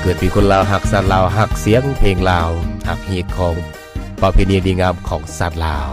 ເກີດເປັນຄົນລາວ ຮັກຊາດລາວ ຮັກສຽງເພງລາວ ຮັກຮີດຄອງປະເພນີດີງາມຂອງຊາດລາວ.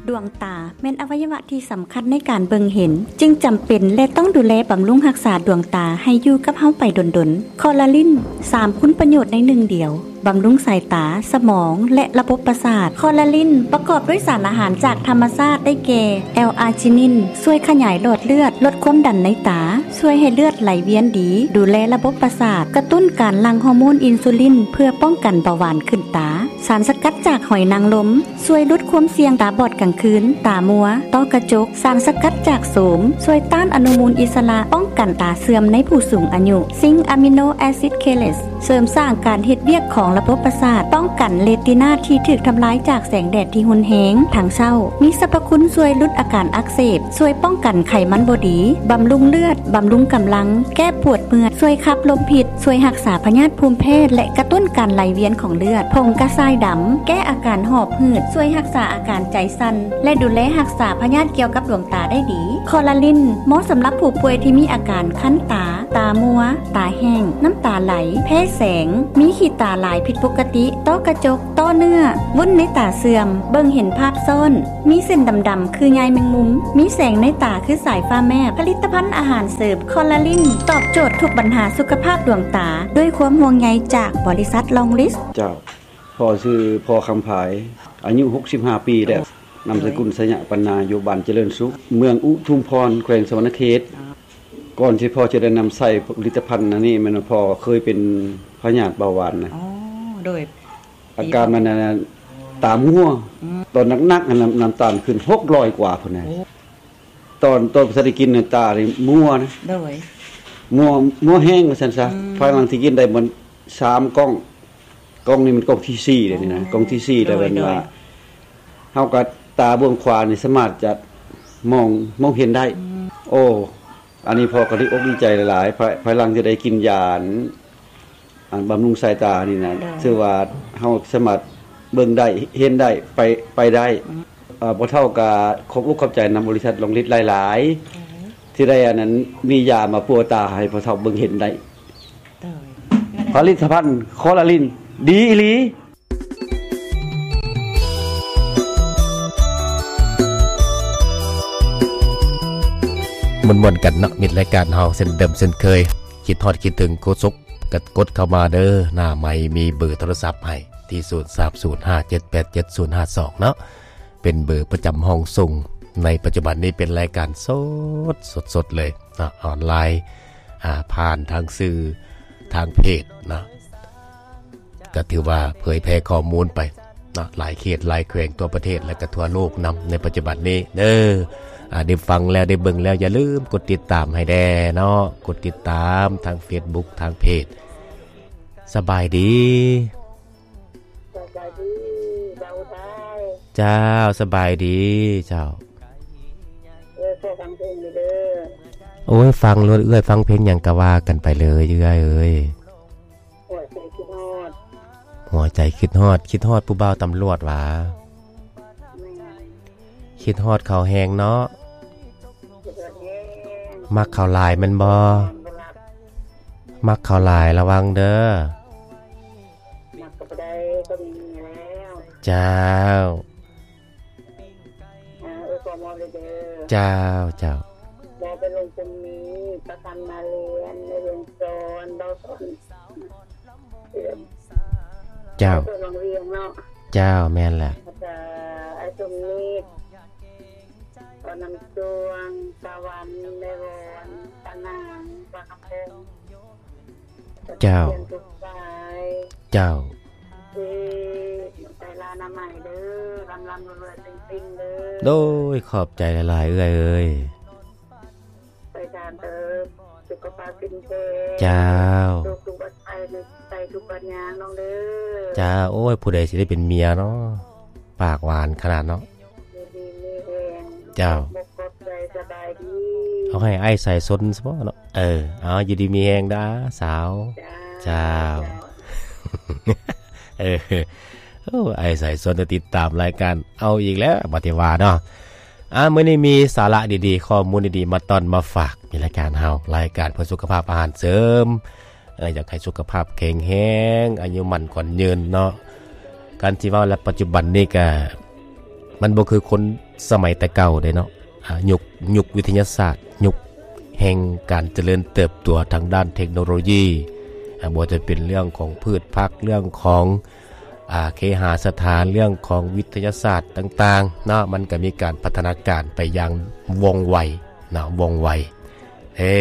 ດວງຕາແມ່ນອະໄວຍະວະທີ່ສຳຄັນໃນການເບິ່ງເຫັນ, ຈຶ່ງຈຳເປັນ ແລະ ຕ້ອງດູແລບຳລຸງຮັກສາດວງຕາໃຫ້ຢູ່ກັບເຮົາໄປດົນໆ. ຄໍລາລິນ ສາມຄຸນປະໂຫຍດໃນໜຶ່ງດຽວ, ບຳລຸງສາຍຕາ, ສະໝອງ ແລະ ລະບົບປະສາດ. ຄໍລາລິນປະກອບດ້ວຍສານອາຫານຈາກທຳມະຊາດ ໄດ້ແກ່ ແອລອາຈິນິນ ຊ່ວຍຂະຫຍາຍຫຼອດເລືອດ, ລົດຄວາມດັນໃນຕາ, ຊ່ວຍໃຫ້ເລືອດໄຫຼວຽນດີ, ດູແລລະບົບປະສາດ, ກະຕຸ້ນການຫຼັ່ງຮໍໂມນອິນຊູລິນ ເພື່ອປ້ອງກັນເບົາຫວານຂຶ້ນຕາ. ສານສະກັດຈາກຫອຍນາງລົມ ຊ່ວຍຫຼຸດຄວາມສ່ຽງຕາບອດກາງຄືນ, ຕາມົວ, ຕ້ອກະຈົກ. ສານສະກັດຈາກໂສມ ຊ່ວຍຕ້ານອະນຸມູນອິດສະຫຼະ, ປ້ອງກັນຕາເສື່ອມໃນຜູ້ສູງອາຍຸ. ຊິງອາມິໂນແອຊິດເຄເລດ ເສີມສ້າງການເຮັດວຽກຂອງລະບົບປະສາດ, ປ້ອງກັນເຣຕິນາທີ່ຖືກທຳລາຍຈາກແສງແດດທີ່ຮຸນແຮງທັງເຊົ້າ. ມີສັບພະຄຸນຊ່ວຍຫຼຸດອາການອັກເສບ, ຊ່ວຍປ້ອງກັນໄຂມັນບໍ່ດີ, ບຳລຸງເລືອດ, ບຳລຸງກຳລັງ, ແກ້ປວດເມື່ອຍ, ຊ່ວຍຂັບລົມພິດ, ຊ່ວຍຮັກສາພະຍາດພູມແພ້ ແລະ ກະຕຸ້ນການໄຫຼວຽນຂອງເລືອດ. ຜົງກະຊາຍດຳ ແກ້ອາການຫອບຫືດ, ຊ່ວຍຮັກສາອາການໃຈສັ່ນ ແລະ ດູແລຮັກສາພະຍາດກ່ຽວກັບດວງຕາໄດ້ດີ. ຄໍລາລິນ ເໝາະສຳລັບຜູ້ປ່ວຍທີ່ມີອາການຄັນຕາ, ຕາມົວ, ຕາແຫ້ງ, ນ້ຳຕາໄຫຼ, ແພ້ແສງ, ມີຂີ້ຕາຫຼາຍຜິດປົກກະຕິ, ຕ້ອກະຈົກ, ຕ້ອເນື້ອ, ວຸ້ນໃນຕາເສື່ອມ, ເບິ່ງເຫັນພາບຊ້ອນ, ມີເສັ້ນດຳໆຄືໃຍແມງມຸມ, ມີແສງໃນຕາຄືສາຍຟ້າແມບ. ຜະລິດຕະພັນອາຫານເສີມຄໍລາລິນ ຕອບໂຈດທຸກບັນຫາສຸຂະພາບດວງຕາ ດ້ວຍຄວາມຫ່ວງໃຍຈາກບໍລິສັດລອງລິດ. ເຈົ້າ. ພໍ່ຊື່ພໍ່ຄຳພາຍ ອາຍຸຫົກສິບຫ້າປີແລ້ວ. ໂອ້ ນາມສະກຸນ ໄຊຍະປັນນາ ຢູ່ບ້ານຈະເລີນສຸກ ເມືອງອຸທຸມພອນ ແຂວງສະຫວັນນະເຂດ. ອໍ ກ່ອນທີ່ພໍ່ຈະໄດ້ນຳໃຊ້ຜະລິດຕະພັນອັນນີ້ ແມ່ນວ່າພໍ່ເຄີຍເປັນພະຍາດເບົາຫວານນະ. ອໍ ໂດຍ. ອາການມັນນັ້ນ ຕາມົວ. ອືມ. ຕອນໜັກໆ ນ້ຳ ນ້ຳຕານຂຶ້ນຫົກຮ້ອຍກວ່າພຸ້ນນະ. ໂອ້. ຕອນ ຕອນບໍ່ທັນໄດ້ກິນນະ ຕານີ້ມົວນະ. ໂດຍ. ມົວ ມົວແຮງວ່າຊັ້ນຊະ. ອືມ. ພາຍຫຼັງທີ່ກິນໄດ້ມັນສາມກ່ອງ ກ່ອງນີ້ມັນກ່ອງທີສີ່ແລ້ວນີ້ນະ. ອໍ. ກ່ອງທີສີ່ແລ້ວ. ໂດຍ ແມ່ນວ່າ ໂດຍ ເຮົາກໍຕາເບື້ອງຂວານີ້ສາມາດຈະມອງ ມອງເຫັນໄດ້. ອືມ. ໂອ້ ອັນນີ້ພໍ່ກໍດີອົກດີໃຈຫຼາຍໆ ພາຍ ພາຍຫຼັງທີ່ໄດ້ກິນຢາ ອັນ ອັນບຳລຸງສາຍຕານີ້ນະ. ໂດຍ. ຖືວ່າເຮົາສາມາດເບິ່ງໄດ້ ເຫັນໄດ້ ໄປ ໄປໄດ້. ອືມ. ເອີ ພໍ່ເຖົ້າກໍຂອບອົກຂອບໃຈນຳບໍລິສັດລອງລິດຫຼາຍໆ. ໂດຍ. ທີ່ໄດ້ອັນນັ້ນ ມີຢາມາປົວຕາໃຫ້ພໍ່ເຖົ້າເບິ່ງເຫັນໄດ້. ໂດຍ. ຜະລິດຕະພັນຄໍລາລິນ ດີອີ່ຫຼີ. ມ່ວນໆກັນເນາະ ມິດລາຍການເຮົາເຊັ່ນເດີມເຊັ່ນເຄີຍ. ຄິດຮອດຄິດເຖິງໂຄສົກ ກໍກົດເຂົ້າມາເດີ. ໜ້າໄມມີເບີໂທລະສັບໃຫ້ທີ່ ສູນສາມສູນຫ້າເຈັດແປດເຈັດສູນຫ້າສອງເນາະ. ເປັນເບີປະຈຳຫ້ອງສົ່ງ. ໃນປັດຈຸບັນນີ້ເປັນລາຍການສົດ ສົດໆເລີຍເນາະ ອອນລາຍ ອາ ຜ່ານທາງສື່ທາງເພຈເນາະ. ກໍຖືວ່າເຜີຍແຜ່ຂໍ້ມູນໄປເນາະ ຫຼາຍເຂດຫຼາຍແຂວງທົ່ວປະເທດ ແລະ ກໍທົ່ວໂລກນຳໃນປັດຈຸບັນນີ້ເດີ. ອາ ໄດ້ຟັງແລ້ວ ໄດ້ເບິ່ງແລ້ວ ຢ່າລືມກົດຕິດຕາມໃຫ້ແດ່ເນາະ ກົດຕິດຕາມທາງເຟສບຸກ ທາງເພຈ. ສະບາຍດີ. ສະບາຍດີບ່າວໄທ. ເຈົ້າ ສະບາຍດີເຈົ້າ. ເອີ ຂໍຟັງເພງເດີ. ໂອ້ຍ ຟັງໂລດເອື້ອຍ ຟັງເພງຫຍັງກໍວ່າກັນໄປເລີຍເອື້ອຍເອີຍ. ຫົວໃຈຄິດຮອດ ຫົວໃຈຄິດຮອດ ຄິດຮອດຜູ້ບ່າວຕຳຫຼວດຫວາ? ແມ່ນ. ຄິດຮອດເຂົາແຮງເນາະ. ຄິດຮອດແຮງ. ມັກເຂົາຫຼາຍແມ່ນບໍ່? ນອນບໍ່ຫຼັບ. ມັກເຂົາຫຼາຍລະວັງເດີ. ມັກກໍບໍ່ໄດ້ ກໍມີເມຍແລ້ວ. ເຈົ້າ. ອ່າ ເອີ ຂໍມອບເດີ. ເຈົ້າ ເຈົ້າ. ບໍ່ໄປລົງກົມນີ້ ປະກັນມາລຽນ ໃນວຽງສອນ ເບົາສອນ. ເຈົ້າ. ເຈົ້າ ແມ່ນແຫຼະ. ອາຈານ ອ້າຍສົມນິດ ເບົານ້ຳຊ່ວງ ສາວັນ ແມ່ວອນ ປານາງ ປາກະພົງ. ເຈົ້າ. ເຈົ້າ. ໂດຍ ຂອບໃຈຫຼາຍໆ ເອື້ອຍເອີຍ. ໄປທາງເອີ ສຸຂະພາບເຂັ້ມແຂງ. ເຈົ້າ. ໂລກທຸກວັນໄພ ໄປທຸກວັນຍາງນ້ອງເດີ. ເຈົ້າ. ໂອ້ຍ ຜູ້ໃດຊິໄດ້ເປັນເມຍເນາະ ປາກຫວານຂະໜາດເນາະ. ຢູ່ດີມີແຮງ. ເຈົ້າ. ຂອບໃຈ ສະບາຍດີ. ເອົາໃຫ້ອ້າຍສາຍຊົນຊະເນາະ. ເອີ ເອົາ ຢູ່ດີມີແຮງເດີສາວ. ເຈົ້າ. ເຈົ້າ. ເຈົ້າ. ເອີ ໂອ້ ອ້າຍສາຍຊົນຕິດຕາມລາຍການ ເອົາອີກແລ້ວ ບັດນີ້ວ່າເນາະ. ອ່າ ມື້ນີ້ມີສາລະດີໆ ຂໍ້ມູນດີໆ ມາຕ້ອນມາຝາກໃນລາຍການເຮົາ ລາຍການເພື່ອສຸຂະພາບອາຫານເສີມ ເອີ ຢາກໃຫ້ສຸຂະພາບແຂງແຮງ ອາຍຸໝັ້ນຂວັນຍືນເນາະ. ການທີ່ເວົ້າແລ້ວ ປັດຈຸບັນນີ້ກະ ມັນບໍ່ຄືຄົນສະໄໝແຕ່ເກົ່າເດ້ເນາະ. ອາ ຍຸກ ຍຸກວິທະຍາສາດ ຍຸກແຫ່ງການຈະເລີນເຕີບໂຕທາງດ້ານເທັກໂນໂລຢີ ອາ ບໍ່ວ່າຈະເປັນເລື່ອງຂອງພືດຜັກ ເລື່ອງຂອງ ອາ ເຄຫາສະຖານ ເລື່ອງຂອງວິທະຍາສາດຕ່າງໆເນາະ ມັນກະມີການພັດທະນາການໄປຢ່າງວ່ອງໄວເນາະ ວ່ອງໄວເດ້.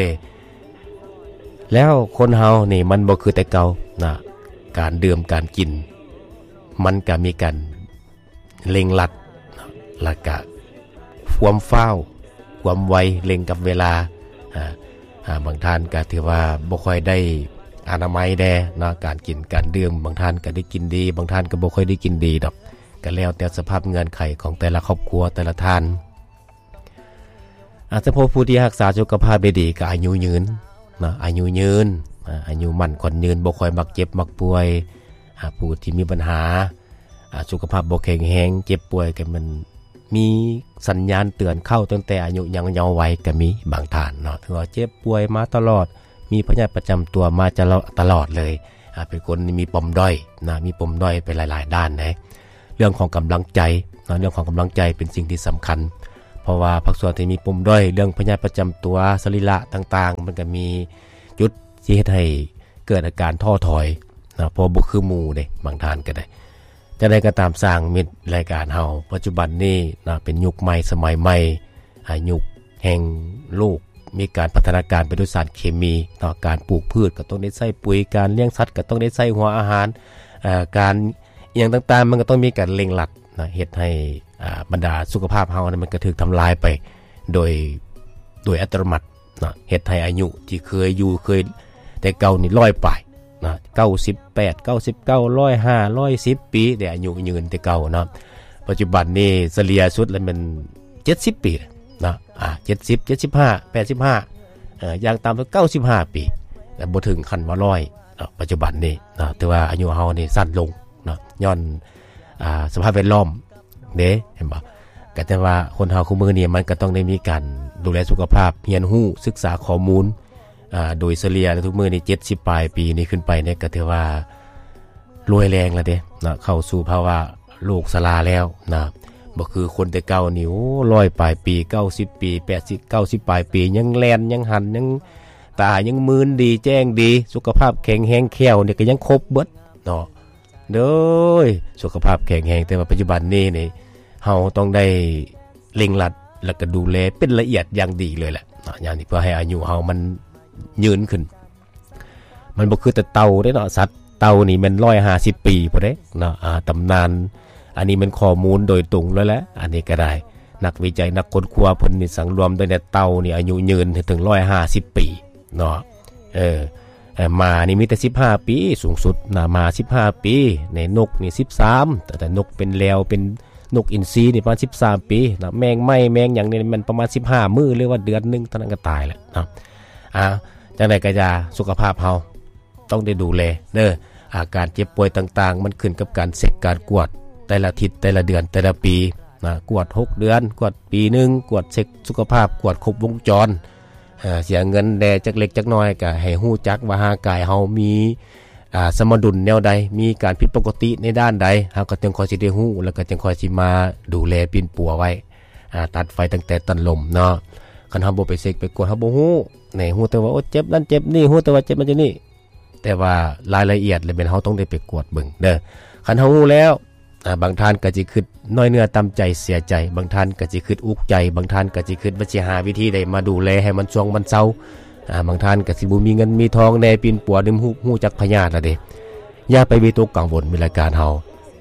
ແລ້ວຄົນເຮົານີ້ມັນບໍ່ຄືແຕ່ເກົ່ານະ ການດື່ມການກິນ ມັນກະມີການເລັ່ງລັດ ແລ້ວກະຄວາມຟ້າວ ຄວາມໄວ ເລັ່ງກັບເວລາ. ອາ ອາ ບາງທ່ານກະຖືວ່າບໍ່ຄ່ອຍໄດ້ອະນາໄມແດ່ເນາະ ການກິນການດື່ມ ບາງທ່ານກະໄດ້ກິນດີ ບາງທ່ານກະບໍ່ຄ່ອຍໄດ້ກິນດີດອກ ກະແລ້ວແຕ່ສະພາບເງື່ອນໄຂຂອງແຕ່ລະຄອບຄົວ ແຕ່ລະທ່ານ. ອາ ສະເພາະຜູ້ທີ່ຮັກສາສຸຂະພາບໄດ້ດີກະອາຍຸຍືນເນາະ ອາຍຸຍືນ ອາ ອາຍຸໝັ້ນຂວັນຍືນ ບໍ່ຄ່ອຍມັກເຈັບມັກປ່ວຍ. ອາ ຜູ້ທີ່ມີບັນຫາ ອາ ສຸຂະພາບບໍ່ແຂງແຮງ ເຈັບປ່ວຍກະແມ່ນມີສັນຍານເຕືອນເຂົ້າຕັ້ງແຕ່ອາຍຸຍັງເຍົາໄວກະມີບາງທ່ານເນາະ ຖືວ່າເຈັບປ່ວຍມາຕະຫຼອດ ມີພະຍາດປະຈຳຕົວມາຕະຫຼອດເລີຍ. ອາ ເປັນຄົນມີປົມດ້ອຍນະ ມີປົມດ້ອຍໄປຫຼາຍໆດ້ານເດ້. ເລື່ອງຂອງກຳລັງໃຈເນາະ ເລື່ອງຂອງກຳລັງໃຈເປັນສິ່ງທີ່ສຳຄັນ ເພາະວ່າພາກສ່ວນທີ່ມີປົມດ້ອຍ ເລື່ອງພະຍາດປະຈຳຕົວ ສະລີລະຕ່າງໆ ມັນກະມີຈຸດທີ່ເຮັດໃຫ້ເກີດອາການທໍ້ຖອຍເນາະ ເພາະບໍ່ຄືໝູ່ເດ້ ບາງທ່ານກະໄດ້. ຈັ່ງໃດກະຕາມ ຊ່າງມິດລາຍການເຮົາ ປັດຈຸບັນນີ້ເນາະ ເປັນຍຸກໃໝ່ສະໄໝໃໝ່ ອາ ຍຸກແຫ່ງໂລກ ມີການພັດທະນາການໄປດ້ວຍສານເຄມີເນາະ ການປູກພືດກະຕ້ອງໄດ້ໃຊ້ປຸຍ ການລ້ຽງສັດກະຕ້ອງໄດ້ໃຊ້ຫົວອາຫານ ອາ ການອີ່ຫຍັງຕ່າງໆ ມັນກະຕ້ອງມີການເລັ່ງລັດເນາະ ເຮັດໃຫ້ ອາ ບັນດາສຸຂະພາບເຮົານີ້ມັນກະຖືກທຳລາຍໄປໂດຍ ໂດຍອັດຕະໂນມັດເນາະ ເຮັດໃຫ້ອາຍຸທີ່ເຄີຍຢູ່ ເຄີຍແຕ່ເກົ່ານີ້ຮ້ອຍປາຍ ນະ ເກົ້າສິບແປດ ເກົ້າສິບເກົ້າ ຮ້ອຍຫ້າ ຮ້ອຍສິບປີ ໄດ້ອາຍຸຍືນແຕ່ເກົ່າເນາະ. ປັດຈຸບັນນີ້ສະເລ່ຍສຸດລະແມ່ນເຈັດສິບປີເນາະ ອາ ເຈັດສິບ ເຈັດສິບຫ້າ ແປດສິບຫ້າ ເອີ ຢ່າງຕ່ຳເກົ້າສິບຫ້າປີ ແຕ່ບໍ່ເຖິງຂັ້ນວ່າຮ້ອຍເນາະ. ປັດຈຸບັນນີ້ເນາະ ຖືວ່າອາຍຸເຮົານີ້ສັ້ນລົງເນາະ ຍ້ອນ ອາ ສະພາບແວດລ້ອມ ເດ້ ເຫັນບໍ່? ກະແຕ່ວ່າຄົນເຮົາຄູ່ມື້ນີ້ມັນກະຕ້ອງໄດ້ມີການດູແລສຸຂະພາບ ຮຽນຮູ້ ສຶກສາຂໍ້ມູນ ອາ ໂດຍສະເລ່ຍແລ້ວທຸກມື້ນີ້ເຈັດສິບປາຍປີນີ້ຂຶ້ນໄປນີ້ກະຖືວ່າລວຍແຮງແລ້ວເດ້ເນາະ ເຂົ້າສູ່ພາວະໂລກຊະລາແລ້ວນະ. ບໍ່ຄືຄົນແຕ່ເກົ່ານີ້ ໂອ້ ຮ້ອຍປາຍປີ ເກົ້າສິບປີ ແປດສິບ ເກົ້າສິບປາຍປີ ຍັງແລ່ນ ຍັງຫັນ ຍັງຕາ ຍັງມືນດີ ແຈ້ງດີ ສຸຂະພາບແຂງແຮງ ແຂ້ວນີ້ກະຍັງຄົບເບິດເນາະ. ໂດຍ ສຸຂະພາບແຂງແຮງ ແຕ່ວ່າປັດຈຸບັນນີ້ນີ້ ເຮົາຕ້ອງໄດ້ເລັ່ງລັດ ແລ້ວກະດູແລເປັນລະອຽດຢ່າງດີເລີຍແຫຼະເນາະ ຢ່າງນີ້ ເພື່ອໃຫ້ອາຍຸເຮົາມັນຍືນຂຶ້ນ. ມັນບໍ່ຄືແຕ່ເຕົ່າເດ້ເນາະ ສັດເຕົ່ານີ້ແມ່ນຮ້ອຍຫ້າສິບປີພຸ້ນເດ້ເນາະ ອາ ຕຳນານ. ອັນນີ້ແມ່ນຂໍ້ມູນໂດຍຕົງເລີຍແຫຼະ ອັນນີ້ກະໄດ້ ນັກວິໄຈນັກຄົ້ນຄວ້າເພິ່ນນີ້ສັງລວມໄດ້ແນວເຕົ່ານີ້ອາຍຸຍືນເຖິງຮ້ອຍຫ້າສິບປີເນາະ. ເອີ ເອີ ໝານີ້ມີແຕ່ສິບຫ້າປີສູງສຸດນະ ໝາສິບຫ້າປີ ໃນນົກນີ້ສິບສາມ ແຕ່ ແຕ່ນົກເປັນແລວ ເປັນນົກອິນຊີນີ້ປະມານສິບສາມປີນະ ແມງໄມ້ແມງຫຍັງນີ້ແມ່ນປະມານສິບຫ້າມື້ ຫຼືວ່າເດືອນໜຶ່ງເທົ່ານັ້ນກະຕາຍແລ້ວເນາະ. ອາ ຈັ່ງໃດກະຢ່າ ສຸຂະພາບເຮົາຕ້ອງໄດ້ດູແລເດີ. ອາການເຈັບປ່ວຍຕ່າງໆ ມັນຂຶ້ນກັບການເຊັກການກວດແຕ່ລະທິດ ແຕ່ລະເດືອນ ແຕ່ລະປີນະ ກວດຫົກເດືອນ ກວດປີໜຶ່ງ ກວດເຊັກສຸຂະພາບ ກວດຄົບວົງຈອນ. ເອີ ເສຍເງິນແດ່ຈັກເລັກຈັກນ້ອຍ ກະໃຫ້ຮູ້ຈັກວ່າຮ່າງກາຍເຮົາມີ ອາ ສະມະດຸນແນວໃດ ມີການຜິດປົກກະຕິໃນດ້ານໃດ ເຮົາກະຈຶ່ງຄ່ອຍຊິໄດ້ຮູ້ ແລ້ວກະຈຶ່ງຄ່ອຍຊິມາດູແລປິ່ນປົວໄວ້ ອາ ຕັດໄຟຕັ້ງແຕ່ຕົ້ນລົມເນາະ. ຄັນເຮົາບໍ່ໄປເຊັກໄປກວດ ເຮົາບໍ່ຮູ້ ແນ່ ຮູ້ແຕ່ວ່າ ໂອ້ ເຈັບນັ້ນເຈັບນີ້ ຮູ້ແຕ່ວ່າເຈັບນັ້ນເຈັບນີ້ ແຕ່ວ່າລາຍລະອຽດລະແມ່ນເຮົາຕ້ອງໄດ້ໄປກວດເບິ່ງເດີ. ຄັນເຮົາຮູ້ແລ້ວ ອາ ບາງທ່ານກະຊິຄຶດນ້ອຍເນື້ອຕ່ຳໃຈເສຍໃຈ ບາງທ່ານກະຊິຄຶດອຸກໃຈ ບາງທ່ານກະຊິຄຶດວ່າຊິຫາວິທີໃດມາດູແລໃຫ້ມັນຊ່ວງມັນເຊົາ. ອາ ບາງທ່ານກະຊິບໍ່ມີເງິນມີທອງແດ່ ປິ່ນປົວ ລືມຮູ້ ຮູ້ຈັກພະຍາດລະເດ້. ຢ່າໄປວິຕົກກັງວົນ ມີລາຍການເຮົາ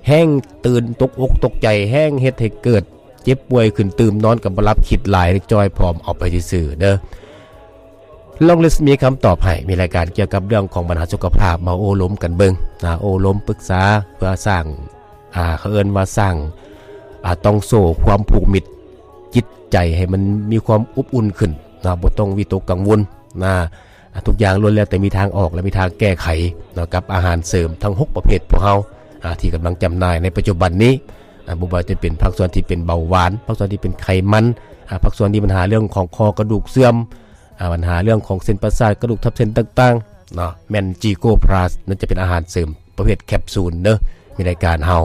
ແຮ່ງຕື່ນຕົກອົກຕົກໃຈ ແຮ່ງເຮັດໃຫ້ເກີດເຈັບປ່ວຍຂຶ້ນຕື່ມ ນອນກະບໍ່ຫຼັບ ຄິດຫຼາຍ ຈ່ອຍຜອມເອົາໄປຊື່ໆເດີ. ລອງລິສມີຄຳຕອບໃຫ້ ມີລາຍການກ່ຽວກັບເລື່ອງຂອງບັນຫາສຸຂະພາບ ມາໂອ້ລົມກັນເບິ່ງນະ ໂອ້ລົມປຶກສາ ເພື່ອສ້າງ ອາ ເຂົາເອີ້ນວ່າສ້າງ ອາ ຕ່ອງໂສ້ຄວາມຜູກມິດຈິດໃຈໃຫ້ມັນມີຄວາມອົບອຸ່ນຂຶ້ນນະ ບໍ່ຕ້ອງວິຕົກກັງວົນນະ. ອາ ທຸກຢ່າງລ້ວນແລ້ວແຕ່ມີທາງອອກ ແລະ ມີທາງແກ້ໄຂນະ ກັບອາຫານເສີມທັງຫົກປະເພດພວກເຮົາ ອາ ທີ່ກຳລັງຈຳໜ່າຍໃນປັດຈຸບັນນີ້. ອາ ບໍ່ວ່າຈະເປັນພາກສ່ວນທີ່ເປັນເບົາຫວານ ພາກສ່ວນທີ່ເປັນໄຂມັນ ອາ ພາກສ່ວນທີ່ບັນຫາເລື່ອງຂອງຂໍ້ກະດູກເສື່ອມ ອາ ບັນຫາເລື່ອງຂອງເສັ້ນປະສາດ ກະດູກທັບເສັ້ນຕ່າງ ເນາະ ແມ່ນຈີໂກພລັສ ນັ້ນຈະເປັນອາຫານເສີມປະເພດແຄບຊູນເດີ ມີລາຍການເຮົາ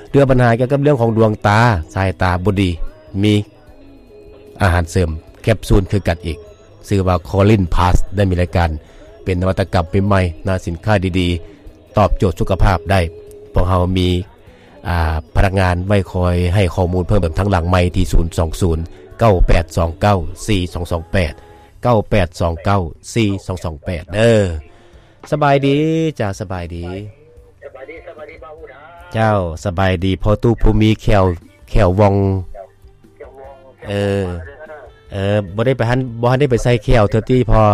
ເລື່ອງບັນຫາກ່ຽວກັບເລື່ອງຂອງດວງຕາ ສາຍຕາບໍ່ດີ ມີອາຫານເສີມແຄບຊູນຄືກັນອີກ ຊື່ວ່າຄອລິນພລັສ ໄດ້ມີລາຍການເປັນນະວັດຕະກຳໃໝ່ໆ ນະ ສິນຄ້າດີໆ ຕອບໂຈດສຸຂະພາບໄດ້ ພວກເຮົາມີ ອ່າ ພະນັກງານໄວ້ຄອຍໃຫ້ຂໍ້ມູນເພີ່ມເຕີມທາງຫຼັງໃໝ່ທີ່ ສູນສອງສູນ ເກົ້າແປດສອງເກົ້າ ສີ່ສອງສອງແປດ ເກົ້າແປດສອງເກົ້າ ສີ່ສອງສອງແປດ ເດີ. ສະບາຍດີ ເຈົ້າ ສະບາຍດີ ສະບາຍດີ ສະບາຍດີ ບ່າວອຸດາ ເຈົ້າ ສະບາຍດີພໍ່ຕູ້ຜູ້ມີແຂ້ວ ແຂ້ວວ່ອງ ເອີ ເອີ ບໍ່ໄດ້ໄປຫັ້ນ ບໍ່ທັນໄດ້ໄປໃສ່ແຂ້ວເທື່ອຕິພໍ່?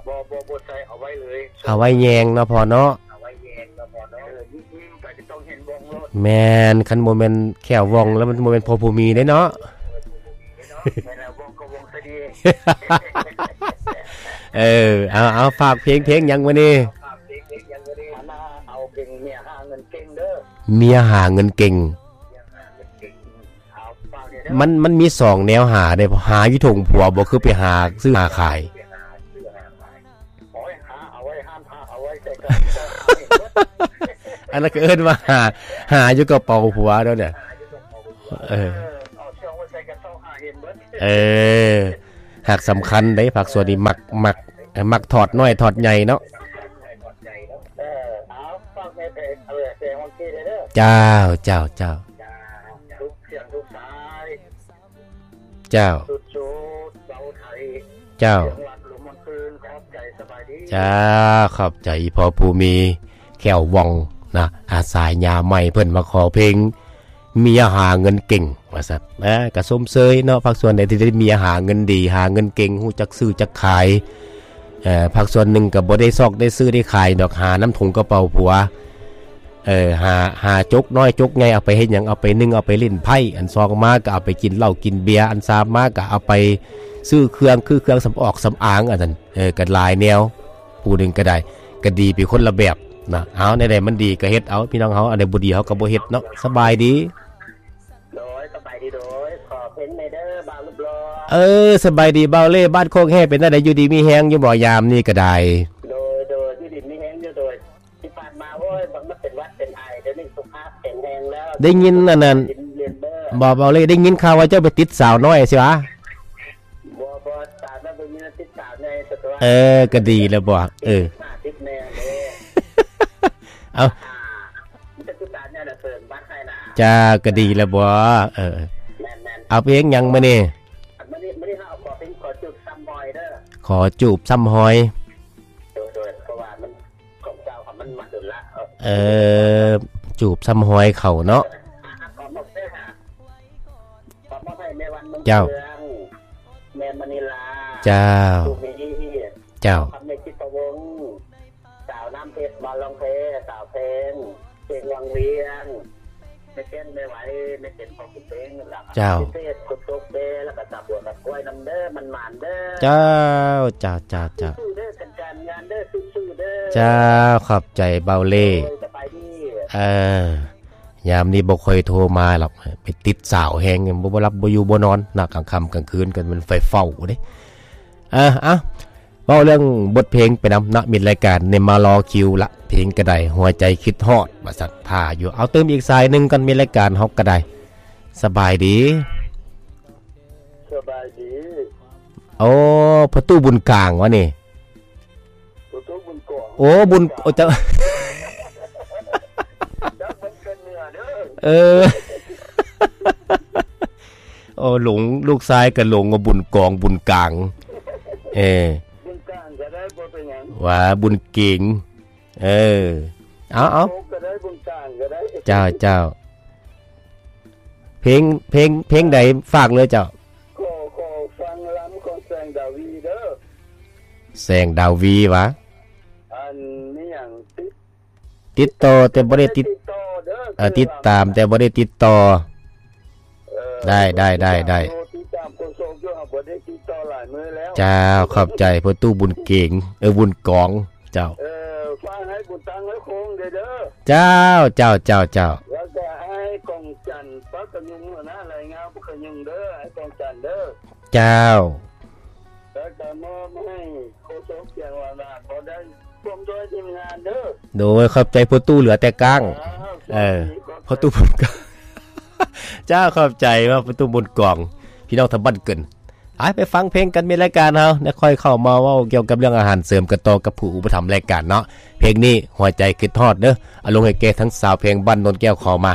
ບໍ່ ບໍ່ ບໍ່ໃສ່ ເອົາໄວ້ເລີຍ ເອົາໄວ້ແຍງເນາະພໍ່ເນາະ ເອົາໄວ້ແຍງເນາະພໍ່ເນາະ ເອີ ຍິງໄປກໍຕ້ອງເຫັນວ່ອງໂລດ ແມ່ນ ຄັນບໍ່ແມ່ນແຂ້ວວ່ອງແລ້ວ ມັນບໍ່ແມ່ນພໍ່ຜູ້ມີເດ້ເນາະ ເອີ ບໍ່ແມ່ນແລ້ວ ວ່ອງກໍວ່ອງຊະດີ ເອີ ເອົາ ເອົາ ຝາກເພງ ເພງຫຍັງມື້ນີ້? ເອົາເພງເມຍຫາເງິນເກັ່ງເດີ ເມຍຫາເງິນເກັ່ງ ມັນ ມັນມີສອງແນວຫາເດ້ ຫາຢູ່ຖົງຜົວບໍ່ ຄືໄປຫາຊື້ຫາຂາຍ ອັນນັ້ນກໍເອີ້ນວ່າຫາ ຫາຢູ່ກະເປົາຜົວເດ້ ເອີ ເອີ ຫາກສຳຄັນເດ້ ພາກສ່ວນນີ້ມັກ ມັກ ມັກຖອດນ້ອຍຖອດໃຫຍ່ເນາະ ເຈົ້າ ເຈົ້າ ເຈົ້າ. ເຈົ້າ ເຈົ້າ ຂອບໃຈພໍ່ຜູ້ມີແຂ້ວວ່ອງນະ ອາ ສາຍຍາໃໝ່ເພິ່ນມາຂໍເພງເມຍຫາເງິນເກັ່ງວ່າຊັ້ນ ນະ ກະຊົມເຊີຍເນາະ ພາກສ່ວນໃດທີ່ໄດ້ເມຍຫາເງິນດີ ຫາເງິນເກັ່ງ ຮູ້ຈັກຊື້ຈັກຂາຍ ເອີ ພາກສ່ວນໜຶ່ງກໍບໍ່ໄດ້ຊອກໄດ້ຊື້ໄດ້ຂາຍດອກ ຫານຳຖົງກະເປົາຜົວ ເອີ ຫາ ຫາຈົກນ້ອຍຈົກໃຫຍ່ ເອົາໄປເຮັດຫຍັງ? ເອົາໄປໜຶ່ງ ເອົາໄປຫຼິ້ນໄພ້ ອັນສອງມາກໍເອົາໄປກິນເຫຼົ້າກິນເບຍ ອັນສາມມາກໍເອົາໄປຊື້ເຄື່ອງ ຄືເຄື່ອງສຳອອກສຳອາງ ອັນນັ້ນ ເອີ ກໍຫຼາຍແນວ ຜູ້ໜຶ່ງກໍໄດ້ ກໍດີໄປຄົນລະແບບນະ ເອົາ ແນວໃດມັນດີກໍເຮັດເອົາ ພີ່ນ້ອງເຮົາ ອັນໃດບໍ່ດີເຮົາກໍບໍ່ເຮັດເນາະ ສະບາຍດີ. ໂດຍ ສະບາຍດີ ໂດຍ ຂໍເພງແດ່ເດີ ບ່າວຮູບຫຼໍ່. ເອີ ສະບາຍດີບ່າວເລ່ ບ້ານໂຄກແຮ່ ເປັນແນວໃດ ຢູ່ດີມີແຮງຢູ່ບໍ່ ຍາມນີ້ກໍໄດ້? ໂດຍ ໂດຍ ຢູ່ດີມີແຮງຢູ່ ໂດຍ ທີ່ຜ່ານມາ ໂອ້ຍ ມັນເປັນຫວັດເປັນໄອ ດຽວນີ້ສຸຂະພາບແຂງແຮງແລ້ວ ໄດ້ຍິນອັນນັ້ນ ບໍ່ ບ່າວເລ່ ໄດ້ຍິນຂ່າວວ່າເຈົ້າໄປຕິດສາວນ້ອຍຊິຫວາ? ບໍ່ ບໍ່ ສາວນ້ອຍບໍ່ມີ ຕິດສາວໃຫຍ່ ເອີ ກໍດີແລ້ວບໍ່ ເອີ ຕິດແມ່ເດ້ ເອົາ ອ່າ ມີແຕ່ຜູ້ສາວໃຫຍ່ນະເສີມບັດໃຫ້ນະ ຈ້າ ກໍດີແລ້ວບໍ່ ເອີ ແມ່ນໆ ເອົາເພງຫຍັງມື້ນີ້? ມື້ນີ້ ມື້ນີ້ເຮົາເອົາຂໍເພງ ຂໍຈູບຊ້ຳຮອຍເດີ ຂໍຈູບຊ້ຳຮອຍ ໂດຍ ໂດຍ ເພາະວ່າມັນ ຂອງເຈົ້າ ມັນມາດົນລະ ເອີ ຈູບຊ້ຳຮອຍເຂົາເນາະ ອ່າ ຂໍມອບເດີ ຂໍມອບໃຫ້ແມ່ວັນ ເມືອງເຄືອງ ເຈົ້າ ແມ່ມະນີລາ ເຈົ້າ ສຸນີ ເຈົ້າ ຄຳໃນຈິດປະວົງ ສາວນ້ຳເພັດ ບ່າວລອງເພ ສາວແພງ ເພງວັງວຽງ ແມ່ແກ່ນ ແມ່ໄວ ແມ່ເຈັນ ພໍ່ບຸນເພັງ ແລ້ວກໍ ເຈົ້າ ພິເສດ ຄຸນໂຕກເດ ແລ້ວກໍສາວບົວ ກັບກ້ວຍນຳເດີ ໝານໆເດີ ເຈົ້າ ເຈົ້າ ເຈົ້າ ເຈົ້າ ສູ້ໆເດີ ການ ການງານເດີ ສູ້ໆເດີ ເຈົ້າ ຂອບໃຈບ່າວເລ່ ໂດຍ ສະບາຍດີ ເອີ ຍາມນີ້ບໍ່ຄ່ອຍໂທມາດອກ ໄປຕິດສາວແຮງ ບໍ່ ບໍ່ຫຼັບບໍ່ຢູ່ບໍ່ນອນນະ ກາງຄ່ຳກາງຄືນກໍແມ່ນໄຟເຝົ້າເດ້ ເອີ ເອົ້າ ເວົ້າເລື່ອງບົດເພງໄປນຳເນາະ ມິດລາຍການນີ້ມາລໍຄິວລະ ເພງກະໄດ ຫົວໃຈຄິດຮອດ ວ່າຊັ້ນ ຖ້າຢູ່ ເອົາ ຕື່ມອີກສາຍໜຶ່ງກ່ອນ ມິດລາຍການເຮົາກະໄດ ສະບາຍດີ ສະບາຍດີ ໂອ້ ພໍ່ຕູ້ບຸນກາງຫວານີ້? ພໍ່ຕູ້ບຸນກອງ ໂອ້ ບຸນ ໂອ້ ເຈົ້າ ເອີ ໂອ້ ຫຼົງ ລູກຊາຍກໍຫຼົງວ່າບຸນກອງ ບຸນກາງ ເອີ ບຸນກາງກໍໄດ້ ບໍ່ເປັນຫຍັງ ວ່າບຸນເກງ ເອີ ເອົາ ເອົາ ໂອ້ ກໍໄດ້ ບຸນກາງກໍໄດ້ ເຈົ້າ ເຈົ້າ ເພງ ເພງ ເພງໃດ ຝາກເລີຍເຈົ້າ ຂໍ ຂໍຟັງລຳຂອງແສງດາວີເດີ ແສງດາວີຫວາ? ອັນນີ້ຫຍັງ ຕິດ ຕິດຕໍ່ແຕ່ບໍ່ໄດ້ຕິດ ຕິດຕໍ່ເດີ ເອີ ຕິດຕາມແຕ່ບໍ່ໄດ້ຕິດຕໍ່ ເອີ ໄດ້ ໄດ້ ໄດ້ ຕິດຕາມ ຕິດຕາມໂຄສົກຢູ່ ຫາບໍ່ໄດ້ຕິດຕໍ່ຫຼາຍມື້ແລ້ວ ເຈົ້າ ຂອບໃຈພໍ່ຕູ້ບຸນເກງ ເອີ ບຸນກອງ ເຈົ້າ ເອີ ຝາກໃຫ້ບຸນຕັ້ງໃຫ້ໂຄງເດີ ເຈົ້າ ເຈົ້າ ເຈົ້າ ເຈົ້າ ແລ້ວກໍໃຫ້ກອງຈັນ ປາກກະຍຸງ ຫົວໜ້າລາຍງານປາກກະຍຸງເດີ ໃຫ້ກອງຈັນເດີ ເຈົ້າ ແລ້ວກໍມອບໃຫ້ໂຄສົກ ເຈົ້າວ່າບໍ່ໄດ້ ຮ່ວມດ້ວຍທີມງານເດີ. ໂດຍ ຂອບໃຈພໍ່ຕູ້ເຫຼືອແຕ່ກາງ. ເອີ ພໍ່ຕູ້ບຸນກອງ. ເຈົ້າ ຂອບໃຈວ່າພໍ່ຕູ້ບຸນກອງ ພີ່ນ້ອງທາງບ້ານເກີນ. ໄປ ໄປຟັງເພງກັນ ມີລາຍການເຮົາ ແລ້ວຄ່ອຍເຂົ້າມາເວົ້າກ່ຽວກັບເລື່ອງອາຫານເສີມກັນຕໍ່ກັບຜູ້ອຸປະຖຳລາຍການເນາະ. ເພງນີ້ ຫົວໃຈຄິດຮອດເດີ ອາລົງໃຫ້ແກ່ທັງຊາວເພງບ້ານໂນນແກ້ວຂໍມາ.